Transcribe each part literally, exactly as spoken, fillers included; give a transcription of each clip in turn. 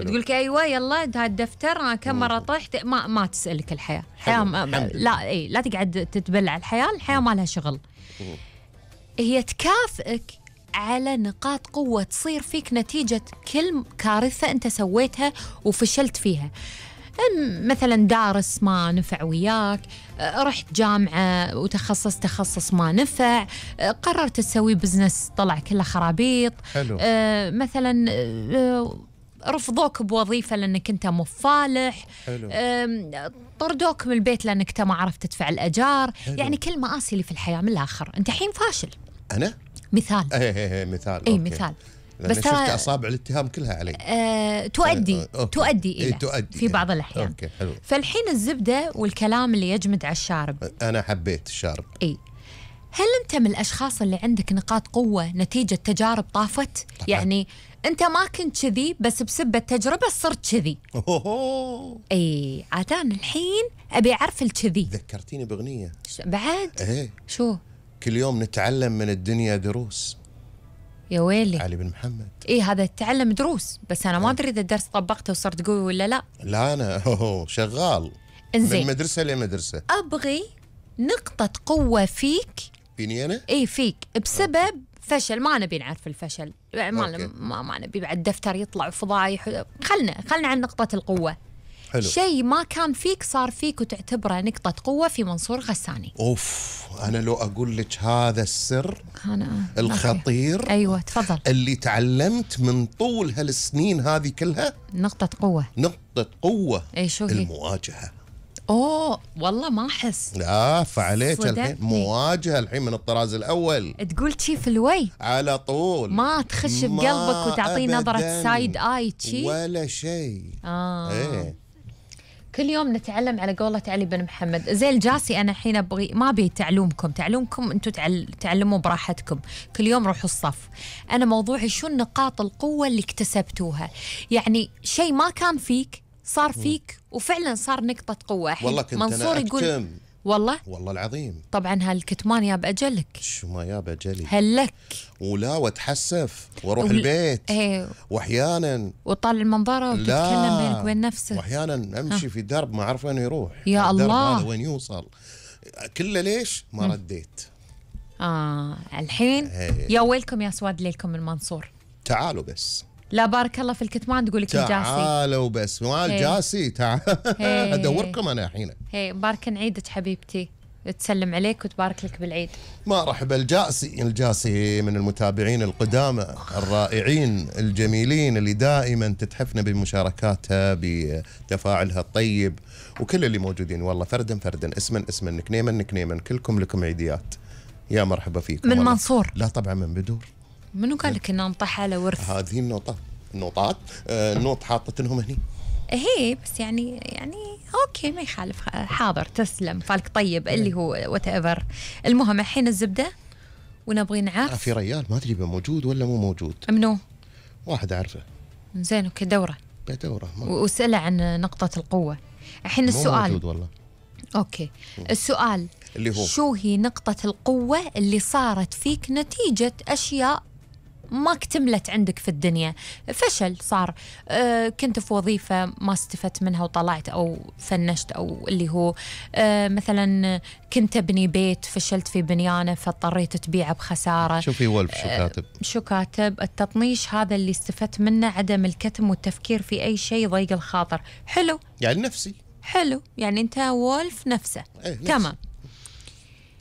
تقول لك ايوه يلا هذا الدفتر انا كم مره طحت، ما ما تسالك الحياه، الحياه ما لا اي لا تقعد تتبلع الحياه، الحياه ما لها شغل. هي تكافئك على نقاط قوه تصير فيك نتيجه كل كارثه انت سويتها وفشلت فيها. مثلا دارس ما نفع وياك، رحت جامعة وتخصص تخصص ما نفع، قررت تسوي بزنس طلع كله خرابيط. حلو. آه مثلا آه رفضوك بوظيفة لأنك أنت مفالح. حلو. آه طردوك من البيت لأنك أنت ما عرفت تدفع الأجار. حلو. يعني كل مآسي اللي في الحياة من الآخر أنت حين فاشل. أنا؟ مثال. ايه ايه ايه مثال. اي مثال. بس شفت اصابع الاتهام كلها علي. آه، تؤدي آه، تؤدي الى إيه تؤدي في بعض الاحيان. أوكي حلو. فالحين الزبده والكلام اللي يجمد على الشارب. انا حبيت الشارب. اي هل انت من الاشخاص اللي عندك نقاط قوه نتيجه تجارب طافت؟ طبعا. يعني انت ما كنت كذي بس بسبب التجربه صرت كذي. اي عادان الحين ابي اعرف الكذي. ذكرتيني باغنيه بعد. ايه شو؟ كل يوم نتعلم من الدنيا دروس. يا ويلي. علي بن محمد. ايه هذا تعلم دروس، بس انا ما ادري اذا الدرس طبقته وصرت قوي ولا لا. لا انا شغال. انزين. من مدرسه لمدرسه. ابغي نقطه قوه فيك. فيني انا؟ اي فيك بسبب أوكي. فشل، ما نبي نعرف الفشل، ما ما, ما نبي بعد دفتر يطلع فضايح. خلنا خلنا عن نقطه القوه. حلو. شيء ما كان فيك صار فيك وتعتبره نقطة قوة في منصور غساني. اوف انا لو اقول لك هذا السر أنا الخطير. أوكي. ايوه تفضل. اللي تعلمت من طول هالسنين هذه كلها نقطة قوة. نقطة قوة. اي شو هي؟ المواجهة. اوه والله ما احس. لا فعليك الحين مواجهة الحين من الطراز الاول. تقول شي في الوي على طول، ما تخش بقلبك وتعطيه نظرة سايد اي شي ولا شيء. اه ايه كل يوم نتعلم على قولة علي بن محمد. زي الجاسي أنا الحين أبغي ما أبي تعلمكم تعلمكم أنتم تعل... تعلموا براحتكم، كل يوم روحوا الصف. أنا موضوعي شو نقاط القوة اللي اكتسبتوها، يعني شيء ما كان فيك صار فيك وفعلا صار نقطة قوة. والله كنت منصور أنا يقول والله والله العظيم. طبعا هالكتمان يا بأجلك. شو ما يا بأجلي هلك ولا واتحسف واروح ول... البيت ايه. واحيانا وطالع المنظره وتتكلم بينك وبين نفسك. واحيانا امشي ها. في درب ما اعرف وين يروح يا الله هذا وين يوصل كله ليش ما م. رديت. اه الحين هي. يا ويلكم يا سواد ليلكم المنصور. تعالوا بس. لا بارك الله في الكتمان تقول لك الجاسي. تعالوا بس ما الجاسي تعال ادوركم انا الحين. هي بارك نعيدك حبيبتي، تسلم عليك وتبارك لك بالعيد. مرحبا الجاسي. الجاسي من المتابعين القدامى الرائعين الجميلين اللي دائما تتحفنا بمشاركاتها بتفاعلها الطيب، وكل اللي موجودين والله فردا فردا اسما اسما نكنيما نكنيما كلكم لكم عيديات. يا مرحبا فيكم. من منصور؟ لا طبعا من بدور. منو قال لك ان نطح على ورث؟ هذه النوطات النوطات آه النوط حاطتنهم هني. هي بس يعني يعني اوكي ما يخالف. حاضر تسلم فالك طيب اللي هو وات ايفر. المهم الحين الزبده ونبغي نعرف. آه في ريال ما ادري موجود ولا مو موجود. منو؟ واحد اعرفه. زين اوكي دوره. بدوره واساله عن نقطه القوه. الحين السؤال مو موجود والله. اوكي السؤال اللي هو شو هي نقطه القوه اللي صارت فيك نتيجه اشياء ما اكتملت عندك في الدنيا، فشل صار، أه كنت في وظيفة ما استفدت منها وطلعت أو فنشت، أو اللي هو أه مثلا كنت أبني بيت فشلت في بنيانه فاضطريت تبيعه بخسارة. شوفي ولف شو كاتب. أه شو كاتب؟ التطنيش هذا اللي استفدت منه عدم الكتم والتفكير في أي شيء ضيق الخاطر. حلو يعني نفسي. حلو يعني أنت وولف نفسه. ايه نفسي. تمام.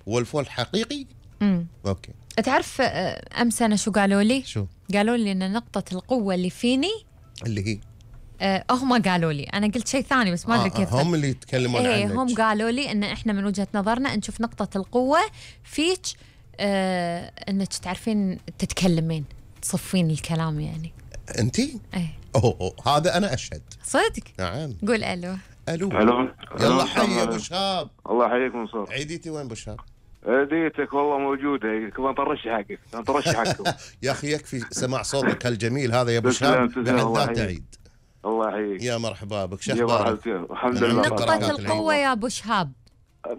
وولف وولف حقيقي. امم اوكي. تعرف امس انا شو قالوا لي؟ شو؟ قالوا لي ان نقطة القوة اللي فيني اللي هي أه هم قالوا لي، انا قلت شيء ثاني بس ما ادري آه كيف. هم اللي يتكلمون ايه عنك. هم قالوا لي ان احنا من وجهة نظرنا نشوف نقطة القوة فيك أه انك تعرفين تتكلمين تصفين الكلام يعني. انتي؟ ايه. أوه, أوه هذا انا اشهد. صدق؟ نعم. قول الو. الو. الو. يلا حي ابو شهاب. الله يحييك منصور. عيديتي وين ابو شهاب؟ عيديتك والله موجوده، كمان طرش حقك طرش حقكم. يا اخي يكفي سماع صوتك الجميل هذا يا ابو شهاب بحد عيد. الله يحييك. يا مرحبا بك. شو اخبارك؟ الحمد لله. نقطة القوة يا ابو شهاب.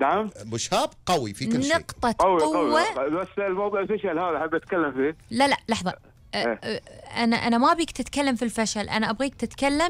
نعم ابو شهاب قوي في كل شيء. نقطة قوي قوة قوي. بس الموضوع الفشل هذا حاب اتكلم فيه. لا لا لحظة. أه أه انا انا ما ابيك تتكلم في الفشل، انا ابغيك تتكلم